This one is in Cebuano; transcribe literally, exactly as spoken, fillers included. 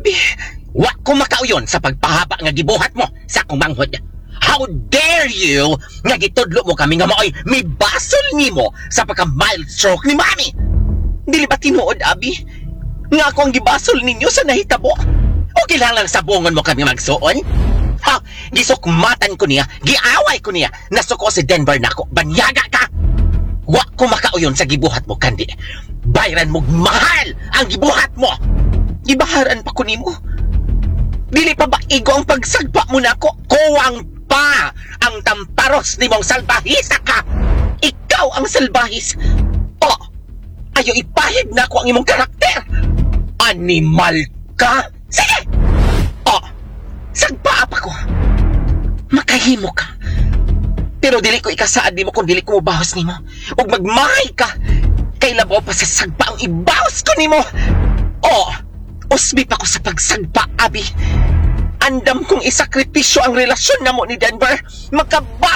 Abi, wa ko makauyon sa pagpahaba nga gibuhat mo sa akong manghod. How dare you nga gitudlo mo kami nga maoy mibasol nimo sa pagka mild stroke ni Mami. Dili ba tinuod, Abi? Nga ako ang gibasol ninyo sa nahitabo? O kinahanglan sabongon mo kami, magsuon? Ha? Gisukmatan ko niya, giaway ko niya, nasuko si Denver nako, banyaga ka! Wa ko makauyon sa gibuhat mo, Kandi. Bayran mo mahal ang gibuhat mo. Gibaharan pa ko nimo. Dili pa ba igo ang pagsagpa mo nako? Kuwang pa ang tamparos nimong salbahista ka. Ikaw ang salbahis. Oh, ayo ipahid nako ang imong karakter. Animal ka. Sige. Oh, sagpaa pa ko. Makahimo ka. Pero dili ko ikasaad nimo kung dili ko mobahos nimo. Ug magmahay ka. Kay labaw pa sa sagpa ang ibahos ko nimo. Oh, usbi pa ko sa pagsagpa, Abi. Andam kong isakripisyo ang relasyon namo ni Denver. Makabaw